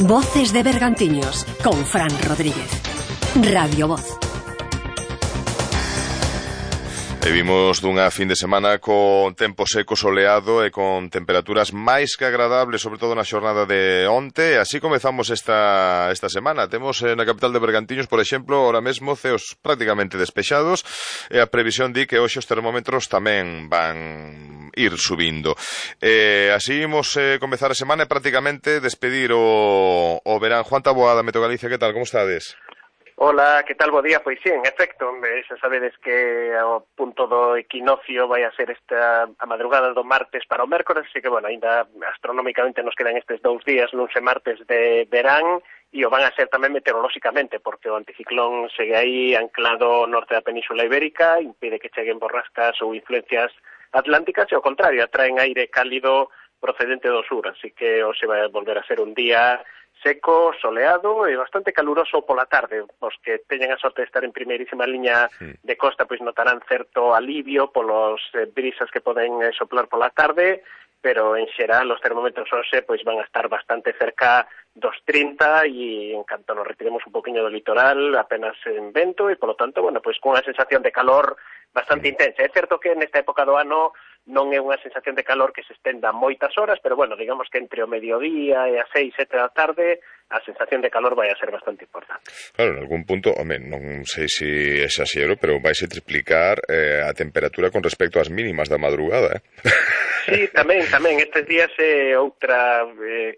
Voces de Bergantiños con Fran Rodríguez. Radio Voz. E vimos dunha fin de semana con tempo seco, soleado e con temperaturas máis que agradables, sobre todo na xornada de onte. E así comezamos esta semana. Temos na capital de Bergantiños, por exemplo, ahora mesmo ceos prácticamente despexados, e a previsión di que hoxe os termómetros tamén van ir subindo. Así imos comezar a semana e prácticamente despedir o verán. Juan Taboada, Meteo Galicia, que tal, como estades? Hola, que tal, bo día? Pois sí, en efecto, xa sabedes que o punto do equinoccio vai a ser esta a madrugada do martes para o mércores, así que, bueno, ainda astronómicamente nos quedan estes 2 días, luns e martes de verán, e o van a ser tamén meteorolóxicamente, porque o anticiclón segue aí anclado ao norte da Península Ibérica, impide que cheguen borrascas ou influencias atlánticas, e ao contrario, atraen aire cálido procedente do sur, así que hoxe vai volver a ser un día seco, soleado e bastante caluroso pola tarde. Os que teñen a sorte de estar en primeirísima liña de costa pois notarán certo alivio polos brisas que poden soplar pola tarde, pero en xeral os termómetros hoxe pois van a estar bastante cerca dos 30 e en canto nos retiremos un poquinho do litoral apenas en vento e polo tanto, bueno, pois cunha sensación de calor bastante intensa. É certo que nesta época do ano non é unha sensación de calor que se estenda moitas horas, pero bueno, digamos que entre o mediodía e as 6, 7 da tarde a sensación de calor vai a ser bastante importante. Claro, en algún punto, home, non sei se exaxero, pero vaise triplicar a temperatura con respecto ás mínimas da madrugada, Sí, tamén, estes días outra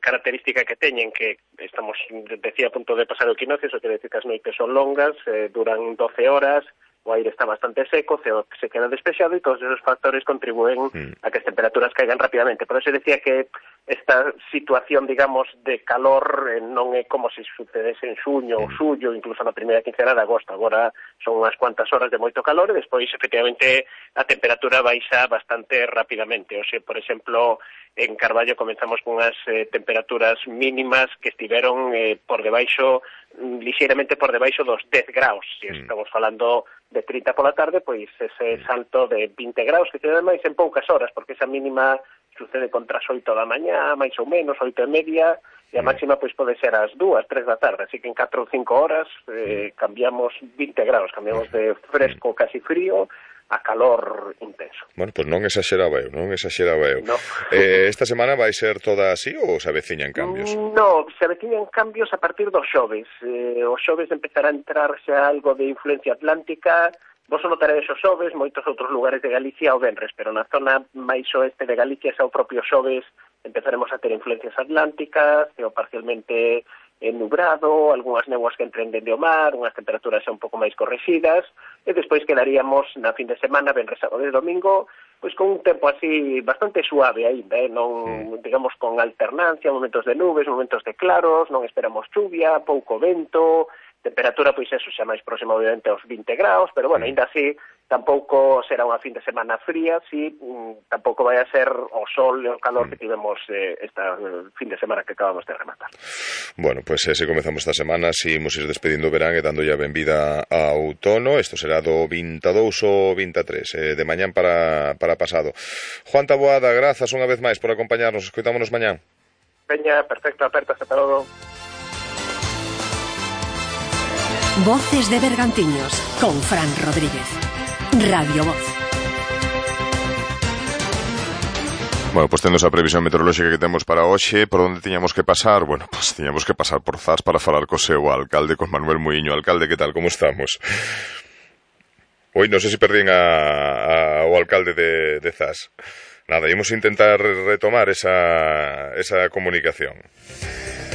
característica que teñen, que estamos, decía, a punto de pasar o equinoccio, eso quere decir que as noites son longas, duran 12 horas, o aire está bastante seco, se queda despexado e todos esos factores contribúen a que as temperaturas caigan rapidamente. Por eso decía que esta situación, digamos, de calor non é como se sucedese en xuño ou xullo, incluso na primeira quincena de agosto. Agora son unhas cuantas horas de moito calor e despois, efectivamente, a temperatura baixa bastante rapidamente. O sea, por exemplo, en Carballo comenzamos con unhas temperaturas mínimas que estiveron por debaixo, lixeiramente por debaixo dos 10 graus. Se estamos falando de 30 pola tarde, pois ese salto de 20 graus que se dá máis en poucas horas, porque esa mínima sucede contra as 8 da mañá, máis ou menos, 8:30, e a máxima pois pode ser ás 2, 3 da tarde, así que en 4 ou 5 horas cambiamos 20 graus, cambiamos de fresco casi frío a calor intenso. Bueno, pois non exaxeraba eu. No. Esta semana vai ser toda así ou se aveciñan cambios? No, se aveciñan cambios a partir dos xoves. O xoves empezará a entrar xa algo de influencia atlántica. Vos o notaredes os xoves, moitos outros lugares de Galicia o venres, pero na zona máis oeste de Galicia xa o propio xoves empezaremos a ter influencias atlánticas, o parcialmente nubrado, algunhas néboas que entren dende o mar, unhas temperaturas xa un pouco máis correxidas, e despois quedaríamos na fin de semana, venres, sábado e domingo, pois con un tempo así bastante suave aínda, non, digamos, con alternancia, momentos de nubes, momentos de claros, non esperamos chuvia, pouco vento, temperatura, pois eso, xa máis próximo obviamente aos 20 graus, pero bueno, aínda así tampouco será unha fin de semana fría, si tampouco vai a ser o sol e o calor que tivemos esta fin de semana que acabamos de rematar. Bueno, pois se comezamos esta semana, si imos ir despedindo o verán e dando ya benvida a outono. Isto será do 22 ou 23, de mañán para pasado. Juan Taboada, grazas unha vez máis por acompañarnos, escoitámonos mañán. Peña, perfecto, apertas, ata logo. Voces de Bergantiños con Fran Rodríguez. Radio Voz. Bueno, pois tendo a previsión meteorolóxica que temos para hoxe, por onde tiñamos que pasar? Bueno, pois tiñamos que pasar por Zas para falar co seu alcalde, con Manuel Muiño. Alcalde, que tal, como estamos? Oi, non sei se perdín o alcalde de Zas. Nada, imos intentar retomar esa comunicación.